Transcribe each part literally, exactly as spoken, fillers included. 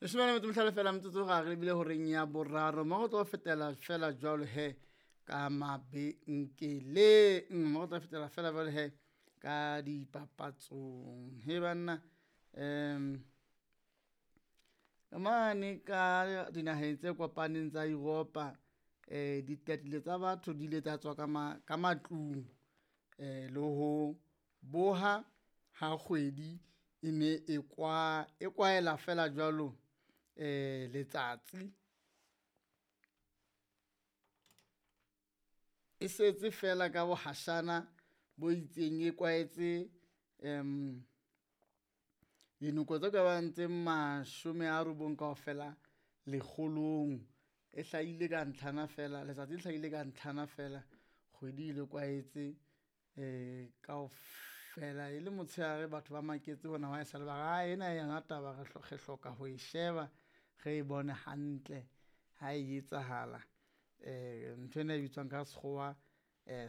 Leshome le metso e mehlano feela metsotso ga re lebile horeng ya boraro mo go tlo fetela fela jwalo he ka mabenkeleng, mo go tlo fetela fela jwalo he ka dipapatsong. He banna, um mane ka dinaheng tse kopaneng tsa Europa, um ditatile tsa batho di ile tsa tswa ka ma, ka matlung um le ho boha ha kgwedi e ne e kwa, e kwaela fela jwalo um letsatsi. E setse fela ka bohashana bo itseng, e kwaetse um dinoko tse ka bang tse mashome a robong kaofela lekgolong. E hlahile ka ntlhana fela, letsatsi le hlahile ka ntlhana fela, kgwedi e le kwaetse um kaofela. E le motshehare batho ba maketse hona wa haesale ba re ae ena yona taba re re hloka ho e sheba, re e bone hantle ha e etsahala. Um nthwena e bitswang ka sekgowa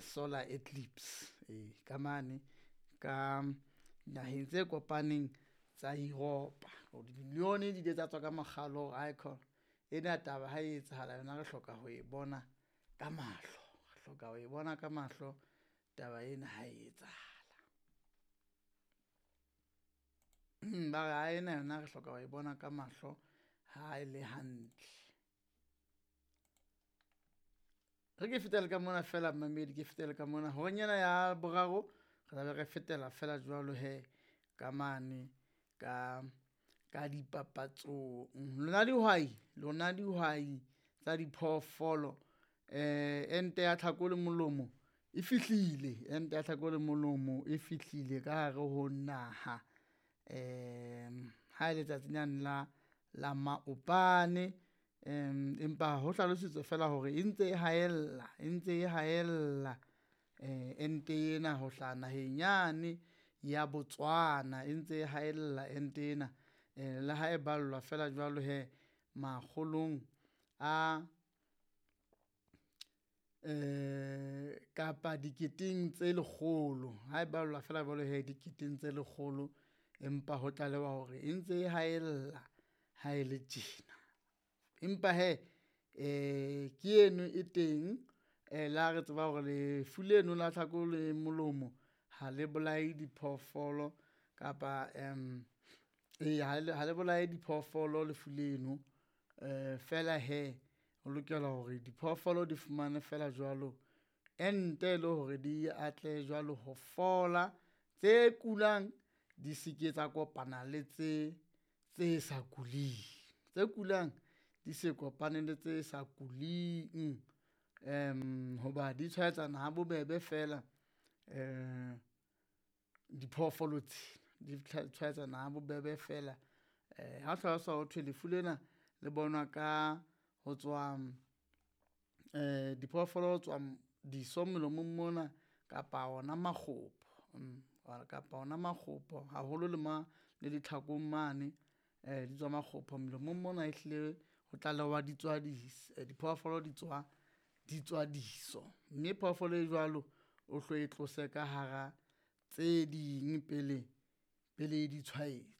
solar eclipse, ee ka mane ka naheng tse kopaneng tsa Europa. Dimilione di ile tsa tswa ka makgalo hore aikhona ena taba ha e etsahala yona re hloka ho e bona ka mahlo, re hloka ho e bona ka mahlo taba ena ha e etsahala. Ba re ae ena yona re hloka ho e bona ka mahlo ha e le hantle. Re ke fetele ka mona fela mmamedi, ke fetele ka mona horeng ena ya boraro, re tla be re fetela fela jwalo hee ka mane ka, ka dipapatsong. Lona dihwai, lona dihwai tsa diphoofolo ente ya tlhako le molomo e fihlile, ente ya tlhako le molomo e fihlile ka hare ho naha. Ha e letsatsi lane la, la maobane empa ho hlalositswe fela hore e ntse e haella, e ntse e haella ente ena ho hlaha naheng yane ya Botswana, e ntse e haella ente ena. Le ha e ballwa feela jwalo hee makgolong a kapa diketeng tse lekgolo, ha e ballwa feela jwalo hee diketeng tse lekgolo, empa ho tlalewa hore e ntse e haella ha e le tjena. Empa hee ke eno e teng le ha re tseba hore lefu leno la tlhako le molomo ha le bolaye diphoofolo kapa eya ha le, ha le bolaye diphoofolo lefu leno fela hee ho lokela hore diphoofolo di fumane feela jwalo ente e le hore di atlehe jwalo ho fola, tse kulang di se ke tsa kopana le tse, tse sa kuleng, tse kulang di se kopane le tse sa kuling hoba di tshwaetsana ha bobebe fela diphoofolo tsena di tshwaetsana ha bobebe fela. Ha hlalosa ho thwe lefu lena le bonwa ka ho tswa diphoofolo ho tswa diso molomong mona kapa ona makgopo, kapa ona makgopo haholo le ma, le ditlhakong mane di tswa makgopho molomong mona ehlile ho tlalewa di tswa diphoofolo di tswa, di tswa diso, mme phoofolo e jwalo o hlo e tlose ka hara tse ding pele, pele e di tshwaetsa.